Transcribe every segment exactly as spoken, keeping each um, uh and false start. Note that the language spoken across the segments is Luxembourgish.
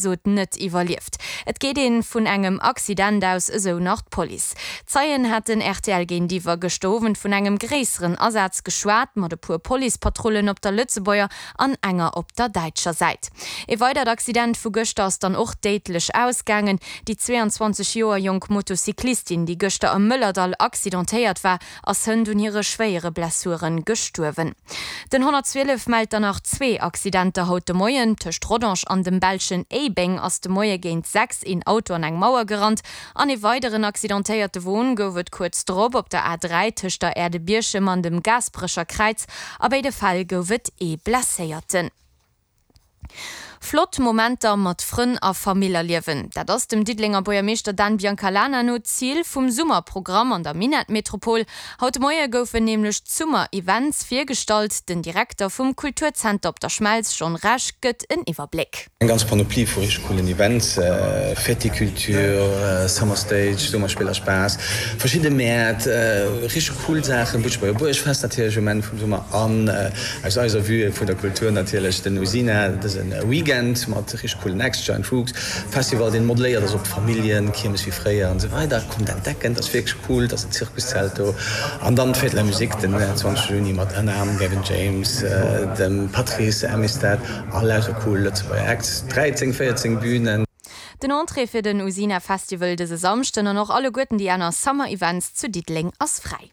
Episod net iwwerlieft. Et geet een vun engem Accident aus, esou nach d'Police. Zeien haten R T L géintiwwer gëschter Owend vun engem gréisseren Asaz geschwat, mat e puer Policepatrullen op der Lëtzebuerger an enger op der däitscher Säit. E weidert Accident vu gëschter ass dann och déidlech ausgaangen. Déi zwee an zwanzeg Joer jonk Motocyclistin, déi gëschter am Mëllerdall accidentéiert war, ass hënt un hire schwéiere Blessuren gestuerwen. Den honnertzwielef mellt dann nach zwee Accidenter haut de Moien. Tëscht Rodange an dem belschen Éibeng ass de Moie géint sechs een Auto an eng Mauer gerannt. An e weideren accidentéierte Won gouf et kuerz drop op der A dräi tëscht der Aire de Bierchem an dem Gaasperecher Kräiz. A béide Fäll gouf et ee Blesséierten. Flott Momenter mat Frënn a Famill erliewen. Dat ass dem Diddelenger Buergermeeschter Dan Biancalana no d'Zil vum Summerprogramm an der Minettmetropol. Haut de Moie goufen nämlech d'Summer-Events virgestallt. Den Direkter vum Kulturzenter op der Schmelz, John Rech, gëtt en Iwwerbléck. Eng ganz Panoplie vu richteg coolen Events, Fêticulture, Summer Stage, Summerspiller Spaass, verschidde Mäert, richteg cool Saachen, Butschebuerger Buergfest natierlech um Enn vum Summer an aus eiser Vue vun der Kultur natierlech den Usina dëse Weekend mat richteg coolen Acts, Giant Rooks Festival, deen modeléiert ass op d'Familljen, Kiermes wéi fréier an esou weider. Kommt entdecken, dat ass wierklech cool, et ass en Zirkuszelt do. An dann d'Fête de la Musique den zwanzeg Juni mat ënner anerem Gavin James, dem Patrice Amistad a lauter cool Lëtzebuerger Acts, dräizéng, véierzéng Bünen. Den Entrée fir den Usina Festival dëse Samschden an och alleguerten déi aner Summer Events zu Diddeleng ass fräi.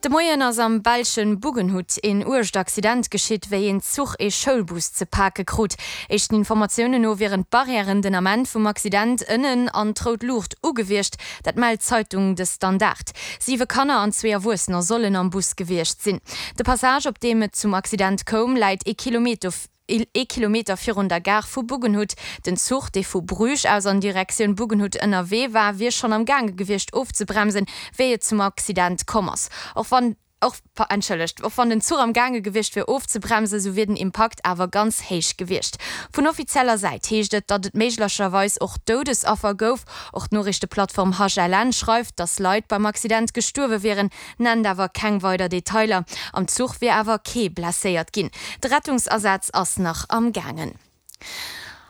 De Moien ass am belschen Buggenhout een uergt Accident geschitt, wéi een Zuch ee Schoulbus ze pake krut. Éischten Informatiounen no wieren d'Barrièren den Ament vum Accident ënnen an d'rout Luucht u gewiescht, dat mellt d'Zeitung De Standaard. Siwe Kanner an zwee Erwuessener sollen am Bus gewiescht sinn. De Passage, op deem et zum Accident koum, läit ee Kilometer ee Kilometer virun der Gare vu Buggenhout. Den Zuch, dee vu Bruges aus an Direktioun Buggenhout ënnerwee war, wier schonn am Gaange gewiescht ofzebremsen, wéi et zum Accident komm ass. Och wann och entschëllegt, och wann den Zuch am Gaange gewiescht wier ofzebremsen, sou wier den Impakt awer ganz héich gewiescht. Vun offizieller Säit heescht et, datt et méiglecherweis och Doudesaffer gouf. Och d'Noriichteplattform H L N schreift, datt Leit beim Accident gestuerwe wieren, nennt awer keng weider Detailer. Am Zuch wier awer kee blesséiert ginn. De Rettungsasaz ass nach am Gaangen.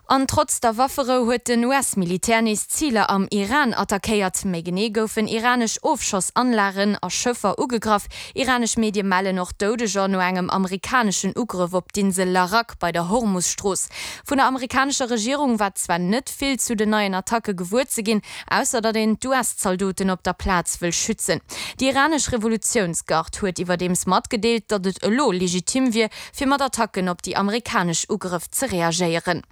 An trotz der Wafferou huet den U S-Militär nees Ziler am Iran attackéiert. Méi genee goufen iranesch Ofschossanlagen a Schëffer ugegraff. Iranesch Medie mellen och Doudeger no engem amerikaneschen Ugrëff op d'Insel Larak bei der Hormus-Strooss. Vun der amerikanescher Regierung war zwar net vill zu den neien Attacke gewuer ze ginn, ausser datt een d'U S-Zaldoten op der Plaz wëll schützen. Déi iranesch Revolutiounsgard huet iwwerdeems matgedeelt, datt et elo legitim wier, fir mat Attacken op déi amerikanesch Ugrëff ze reagéieren.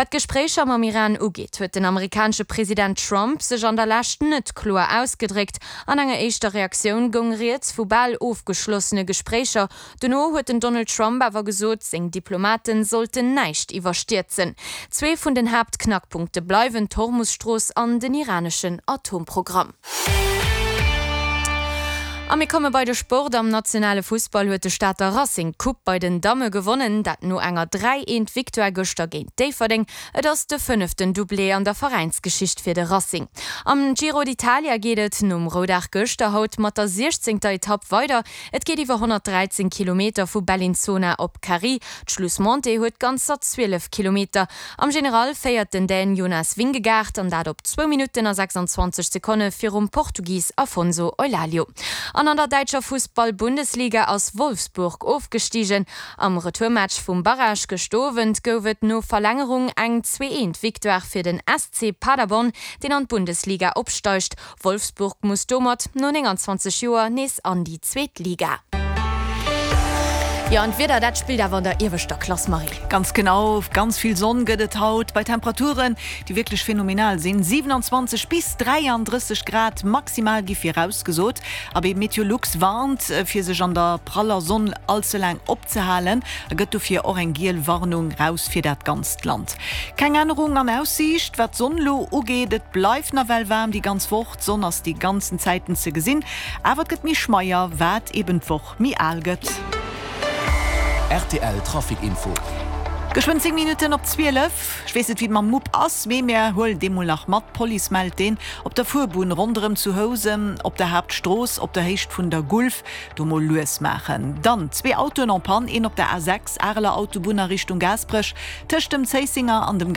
Wat d'Gespréicher mam Iran ugeet, huet den amerikanesche President Trump sech an der Lescht net kloer ausgedréckt. An enger éischter Reaktioun goung rieds vu bal ofgeschlossene Gespréicher. Dono huet den Donald Trump awer gesot, seng Diplomate sollten näischt iwwerstierzen. Zwee vun den Haaptknackpunkte bleiwen d'Hormus-Strooss an den iraneschen Atomprogramm. A mir komme bei de Sport. Am nationale Fussball huet de Stater Racing d'Coupe bei den Damme gewonnen, dat no enger dräi eent Victoire gëschter géint Déifferdeng. Et ass de fënneften Doublé an der Veräinsgeschicht fir de Racing. Am Giro d'Italia geet et nom Roudag gëschter haut mat der siechzéngter Etapp weider. Et geet iwwer honnertdräizéng Kilometer vu Bellinzona op Cari. D'Schlussmontée huet ganzer zwielef Kilometer. Am General féiert den Dän Jonas Vingegaard, an dat op zwou Minutten a sechsanzwanzeg Sekonne virum Portugis Afonso Eulalio. An an der däitscher Fussball-Bundesliga ass Wolfsburg ofgestigen. Am Retourmatch vum Barrage gëschter Owend gouf et no Verlängerung eng zwee eent Victoire fir den S C Paderborn, deen an d'Bundesliga opsteigt. Wolfsburg muss domat no nénganzwanzeg Joer nees an déi zweet Liga. Jo, an d'Wieder, dat spillt awer an der ieweschter Klass, Marie. Ganz genau, ganz vill Sonn gëtt et haut bei Temperaturen, déi wierklech phänomenal sinn. siewenanzwanzeg bis dräiandrësseg Grad maximal gi virausgesot. Abee, Meteolux warnt, fir sech an der praller Sonn all ze laang opzehalen, a gëtt dofir och eng giel Warnung raus fir dat ganzt Land. Keng Ännerung an Aussiicht, wat d'Sonn lo ugeet, et bleift nawell waarm déi ganz Woch, d'Sonn ass déi ganzen Zäiten ze gesinn, awer et gëtt méi schmeier, wat eben d'Woch méi al gëtt. R T L Trafic Info. Geschwënn zéng Minutten op zwielef. Ech weess net wéi et mam Mupp ass, mee mär huelen dee mol nach mat. D'Police mellt deen op der Fuerbunn ronderëm zu Housen op der Haaptstrooss op der Héicht vun der Gulf. Do mol lues maachen. Dann zwee Autoen en panne, een op der A sechs Areler Autobunn a Richtung Gaasperech tëscht dem Zéissenger an dem